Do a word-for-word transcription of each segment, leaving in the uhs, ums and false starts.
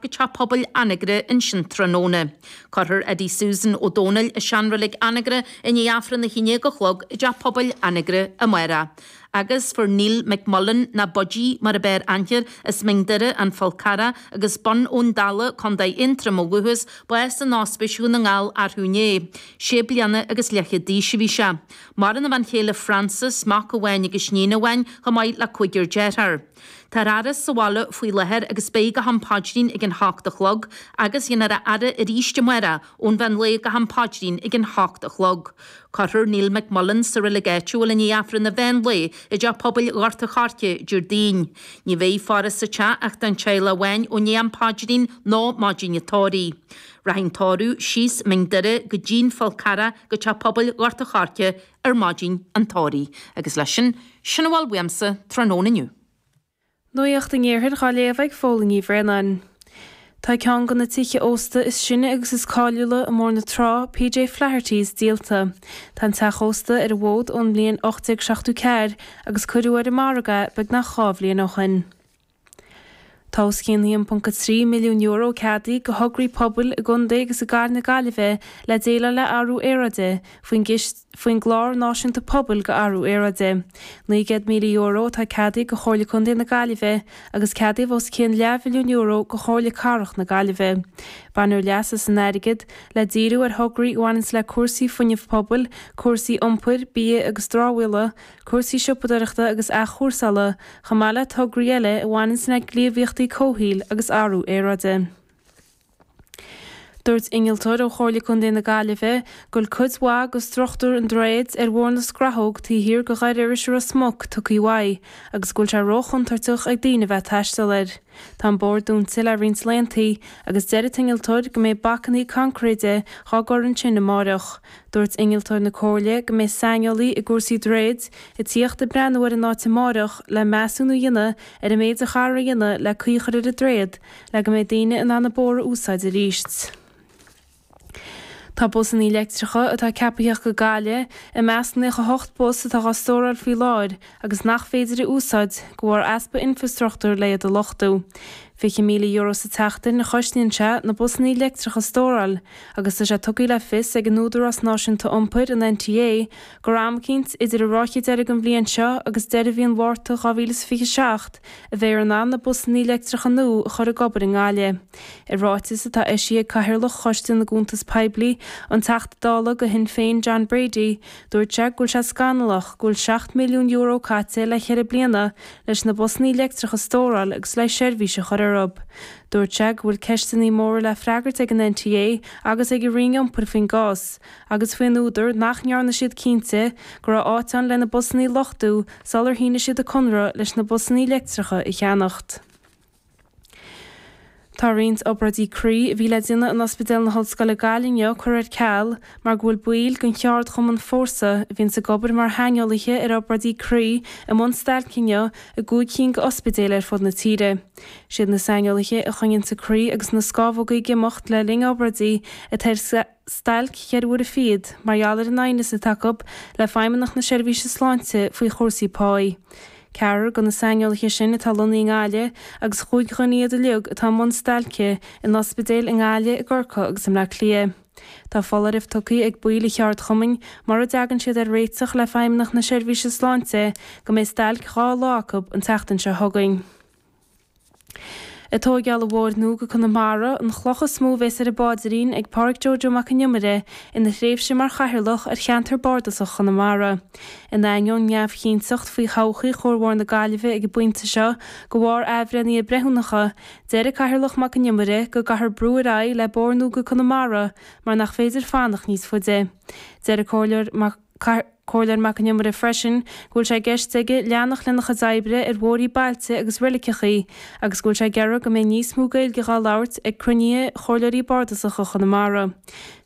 go Teach Pobail Anagaire ansin tráthnóna. Cuirfear Eddie Susan Ó Dónaill i seanreilig Anagaire i ndiaidh Aifreann a haon déag a chlog i dTeach Pobail Anagaire amárach. Agus fuair Neil McMullen nó Budgie mar ab fhearr aithne air as Mín Doire, An Fál Carrach agus Bun Abhann Dalla, Contae Aontroim ó dhúchas, bás in Ospís Dhún na nGall arú inné. Sé bliana agus leathchéad d'aois a bhí sé. Maireann a bhean chéile Frances, mac amháin agus iníon amháin, chomh maith le cúigear dearthár. Tá ar fhaire sa bhaile faoi láthair agus beidh go ham paidrín ag an hocht a chlog agus dhéanfar a fhaire arís amárach ón mheán lae go ham paidrín ag an hocht a chlog. Cuirfear Neil McMullen sa reilig áitiúil i ndiaidh Aifreann an mheán lae i dTeach Pobail Ghort an Choirce Déardaoin. Ní bheidh faire sa teach ach don teaghlach amháin ó ndiaidh am paidrín nó maidin an tórraimh. Rachaidh an tórramh síos Mín Doire go dtí'n Fál Carrach go Teach Pobail Ghort an Choirce ar maidin an tórraimh. Agus leis sin, sin a bhfuil uaimse tráthnóna inniu. Nuacht an Iarthair á léamh ag Fódhla Ní Bhraonáin. Tá ceann de na tithe ósta is sine agus is cáiliúla i mBóthar na Trá, PJ Flaherty's, díolta. Tá an teach ósta ar an bhfód ón mbliain ocht déag seachtó ceathair agus cuireadh ar an margadh beagnach dhá bhliain ó shin. Tá os cionn a haon ponc a trí milliún euro ceadaithe do thograí pobail i gcontae agus i gcathair na Gaillimhe le déileáil le athrú aeráide faoin faoin gClár Náisiúnta Pobail do Athrú Aeráide. Naoi gcéad míle euro atá ceadaithe do Chomhairle Contae na Gaillimhe agus ceadaíodh os cionn leathmhilliún euro do Chomhairle Cathrach na Gaillimhe. Bainfear leas as an airgead le díriú ar thograí a bhaineanns le cúrsaí fuinnimh pobail, cúrsaí iompair, bia agus dramhaíola, cúrsaí siopadóireachta agus athchúrsála, chomh maith le tograí eile a bhaineanns le gníomhaíochtaí comhshaoil agus athrú aeráide. Dúirt innealtóir ó Chomhairle Contae na Gaillimhe go bhfuil cuid mhaith de struchtúr an droichid ar Bhóthar na Scrathóg taobh thiar de Dhoire Iorrais i Ros Muc tugtha uaidh agus go bhfuil sé róchontúirteach ag daoine bheith ag taisteal air. Tá an bóthar dúnta le roinnt laethanta agus deir an t-innealtóir go mbeidh bacanna coincréide á gcur ansin amárach. Dúirt innealtóir na Comhairle go mbeidh saineolaí i gcúrsaí droichid ag tíocht ag breathnú ar an áit amárach le measúnú a dhéanamh ar an méid a chaithfear a dhéanamh le caoi a chur ar an droichead le go mbeidh daoine in ann an bóthar a úsáid arís. Tá busanna leictreacha atá ceaptha a theacht go Gaillimh i measc nócha a hocht bus atá á stóráil faoi láthair agus nach féidir a úsáid de bharr easpa infreastruchtúir le iad a luchtú. Fiche míle euro sa tseachtain a chosnaíonn sé na busanna leictreacha a stóráil agus tá sé tugtha le fios ag an Údarás Náisiúnta Iompair an NTA gur am eicínt idir an ráithe deiridh den bhliain seo agus deireadh mhí an Mhárta dhá mhíle is fiche seacht a bheifear in ann na busanna leictreacha nua a chur ag obair i nGaillimh. I ráiteas atá eisithe ag Cathaoirleach Choiste na gCuntas Poiblí an Teachta Dála do Shinn Féin John Brady, dúirt sé go bhfuil sé scannalach go bhfuil seacht milliún euro caite le ceithre bliana leis na busanna leictreacha a stóráil agus le seirbhís a chur orthu. Dúirt sé go bhfuil ceisteanna móra le freagairt ag an NTA agus ag an Roinn Iompair faoin gcás, agus faoin údar nach ndearna siad cinnte go raibh áit ann lena busanna a luchtú sular shínigh siad an conradh leis na busanna leictreacha a cheannacht. Tá roinnt obráidí croí a bhí le déanamh in Ospidéal na hOllscoile Gaillimh inniu curtha ar ceal mar go bhfuil baill den cheardchumann Fórsa a bhíonns ag obair mar shaineolaithe ar obráidí croí i mbun stailce inniu i gcúig cinn d'ospidéil ar fud na tíre. Siad na saineolaithe a choinníonns an croí agus na scamhóga ag imeacht le linn obráidí atá ar stailc cheithre huaire fichead mar gheall ar an aighneas atá acu le Feidhmeannacht na Seirbhíse Sláinte faoi chúrsaí páí. Ceathrar de na saineolaithe sin atá lonnaithe i nGaillimh agus chúig dhuine iad uilig atá i mbun stailce in ospidéil i nGaillimh, i gCorcaigh agus i mBleá Cliath. Tá foláireamh tugtha ag baill an cheardchumainn mura dtagann siad ar réiteach le Feidhmeannacht na Seirbhíse Sláinte go mbeidh stailc dhá lá acu an tseachtain seo chugainn. Ag tóigeáil an bhóthair nua go Conamara, an chloch is mó a bhéas ar an bpáidrín ag Pádraic Joe Joe Mac an Iomaire ina thréimhse mar chathaoirleach ar cheantar bardasach Chonamara. In ainneoin neamhchinnteacht faoi thodhchaí Chuar Mhór na Gaillimhe ag an bpointe seo de bharr athbhreithnithe breithiúnacha, deir an Cathaoirleach Mac an Iomaire go gcaithfear brú ar aghaidh le bóthar nua go Conamara mar nach féidir fanacht níos faide. Deir an Comhairleoir Mac Comhairleoir Mac an Iomaire freisin go bhfuil sé i gceist aige leanacht lena chuid oibre ar bhóithrí bailte agus reiligeachaí agus go bhfuil sé ag iarraidh go mbeidh níos mó Gaeilge dhá labhairt ag cruinnithe Chomhairleoirí Bardasacha Chonamara.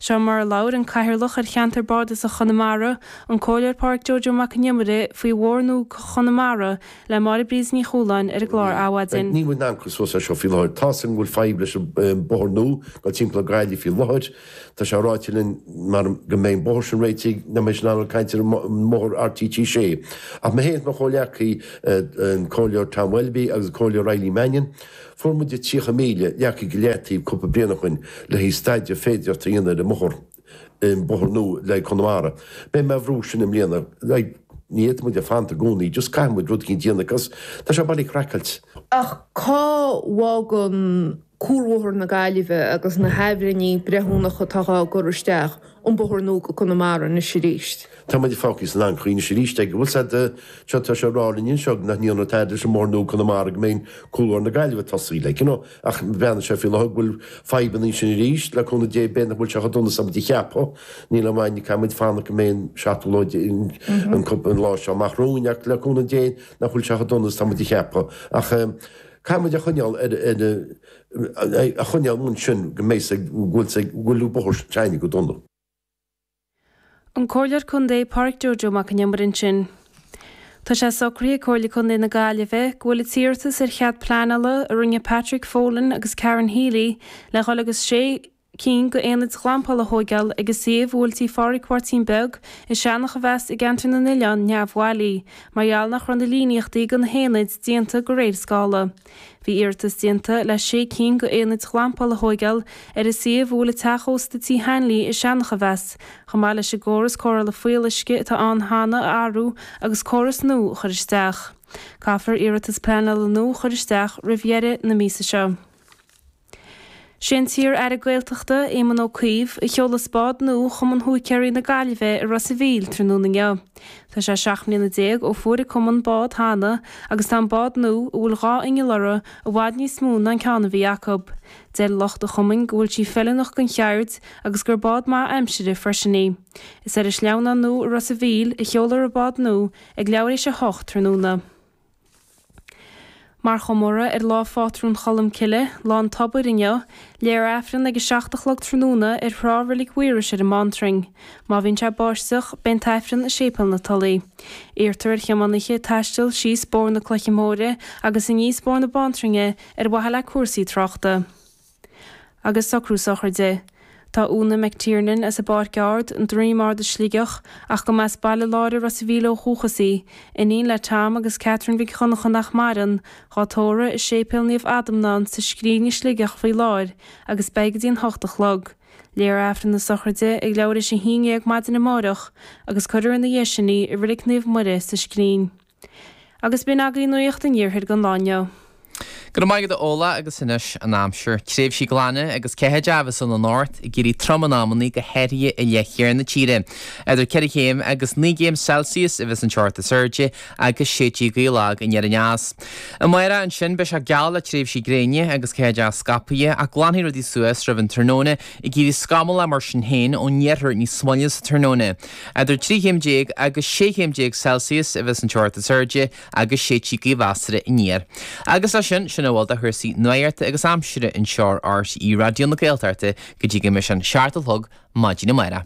Seo mar a labhair an Cathaoirleach ar Cheantar Bardasach Chonamara, an Comhairleoir Pádraic Joe Joe Mac an Iomaire faoi Bhóthar Nua Chonamara le Máire Bríd Ní Chualáin ar an gclár Adhmhaidin. Níl muid in ann cur suas air seo faoi láthair. Tá's againn go bhfuil fadhb leis an bóthar nua ag dul timpeall ar Ghaillimh faoi láthair. Tá sé ráite linn mara go mbeidh an bóthar sin réitigh, nach mbeidh siad in ann caint ar an mbóthar R T sé. Ach mé féin is mo chomhghleacaí, an Comhairleoir Tom Welby agus an Comhairleoir Eileen Mannion, fuair muid tríocha míle leagtha go leataobh cúpla bliain ó shin le haghaidh staidéar féideartha a dhéanamh ar an mbóthar, an bóthar nua le haghaidh Chonamara. Beidh mé á bhrú sin i mbliana. Like, ní fhéadfaidh muid a fanacht i gcónaí, just caithfidh muid rud éicint a dhéanamh cos tá sé bailí craiceailt. Ach cá bhfágann Cuarbhóthar na Gaillimhe agus na hathbhreithnithe breithiúnacha atá á gcur isteach an bóthar nua go Conamara anois arís? Tá muid fágtha san anchaoi anois arís ag bhfuil said seo tá sé rá linn anseo nach ndéanfar tada leis an mbóthar nua Conamara go mbeidh Cuarbhóthar na Gaillimhe tosaithe like, you know, ach bheannaigh sé faoi láthair go bhfuil fadhbanna ansin arís le cúnamh Dé b'fhéidir nach bhfuil sé chomh dona is a muid a cheapadh. Níl aon mhaith caithfidh muid fanacht go mbeidh an seachtú lá an an lá seo amach romhainn ach le cúnamh Dé nach bhfuil sé chomh dona is tá muid a cheapadh. Ach caithfidh muid a choinneáil ar ar a choinneáil ansin go mbeidh go bhfuil go bhfuil bóthar s'againne go dona. An Comhairleoir Contae Pádraic Joe Joe Mac an Iomaire ansin. Tá sé socraithe ag Comhairle Contae na Gaillimhe go bhfuil an t-iarratas ar chead pleanála a rinne Patrick Folan agus Karen Healy le dhul agus sé cinn d'aonaid ghlampála a thógáil ag an suíomh a bhfuil Tí Phádraig Mháirtín Beag i Seanach a bheas i gceantar na nOileán neamhbhailí, mar gheall nach raibh na líníochtaí do na haonaid déanta de réir scála. Bhí iarratas déanta le sé cinn d'aonaid ghlampála a thógáil ar an suíomh a bhfuil an teach ósta Tí Hanley i Seanach a bheas, chomh maith leis an gcóras cóireála fuíolluisce atá ann cheana a athrú agus córas nua a chur isteach. Caithfear iarratas pleanála nua a chur isteach roimh dheireadh na míosa seo. Sé an t-iar-aire Gaeltachta, Éamon Ó Cuív, a sheolas bád nua Chumann Húicéirí na Gaillimhe i Ros an Mhíl tráthnóna inniu. Tá sé seacht mbliana déag ó fuair an cumann bád cheana agus tá an bád nua, a bhfuil dhá inneall uirthi, i bhfad níos mó ná an ceann a bhí acu. Deir lucht an chumainn go bhfuil sí feiliúnach don cheird agus gur bád maith aimsire freisin í. Is ar an sleamhnán nua i Ros an Mhíl a sheolfar an bád nua ag leathuair théis a hocht tráthnóna. Mar chomóradh ar lá phátrún Cholm Cille, lá an tobair inniu, léifear Aifreann ag a seacht a chlog tráthnóna ar thrá Reilig Mhaorais ar an mBantrainn. Má bhíonn sé báisteach, beidh an t-aifreann i Séipéal na Tulaí. Iarrtar ar thiománaithe taisteal síos Bóthar na Cloiche Móire agus aníos Bóthar na Baintreinne ar mhaithe le cúrsaí tráchta. Agus socrú sochraide. Tá Úna McTiernan as an bPáirc Ard, an Droim Ard i Sligeach, ach go mba as Baile Láir i Ros an Mhíl ó dhúchas í, iníon le Tom agus Catherine Mhic Dhonncha nach maireann, dhá tórramh i Séipéal Naomh Adhamhnán sa Scrín i Sligeach faoi láthair agus beidh go dtí an hocht a chlog. Léifear Aifreann na sochraide ag leathuair théis a haon déag maidin amárach agus cuirfear ina dhiaidh sin í i Reilig Naomh Muire sa Scrín. Agus b'in agaibh nuacht an iarthair don lá inniu. Go raibh maith agat a Fhódhla agus anois an aimsir. Tréimhsí glana agus ceathaideacha a bheas ann anocht, ag éirí trom in amannaí go háirithe i leith thiar na tíre. Idir ceithre chéim agus naoi gcéim Celsius a bheas an teocht is airde agus séidfidh gaoth lag aniar aneas. Amárach ansin beidh sé geal le tréimhsí gréine agus ceathaideacha scaipthe ach glanfaidh rudaí suas roimh an tráthnóna ag éirí scamallach mar sin féin ón iarthar níos moille sa tráthnóna. Idir trí chéim déag agus sé chéim déag Celsius a bheas an teocht is airde agus séidfidh gaoth mheasartha aniar. Agus leis sin sin a bhfuil de chúrsaí nuachta agus aimsire anseo ar R T É Raidió na Gaeltachta go dtí go mbeidh sé an seacht a chlog maidin amárach.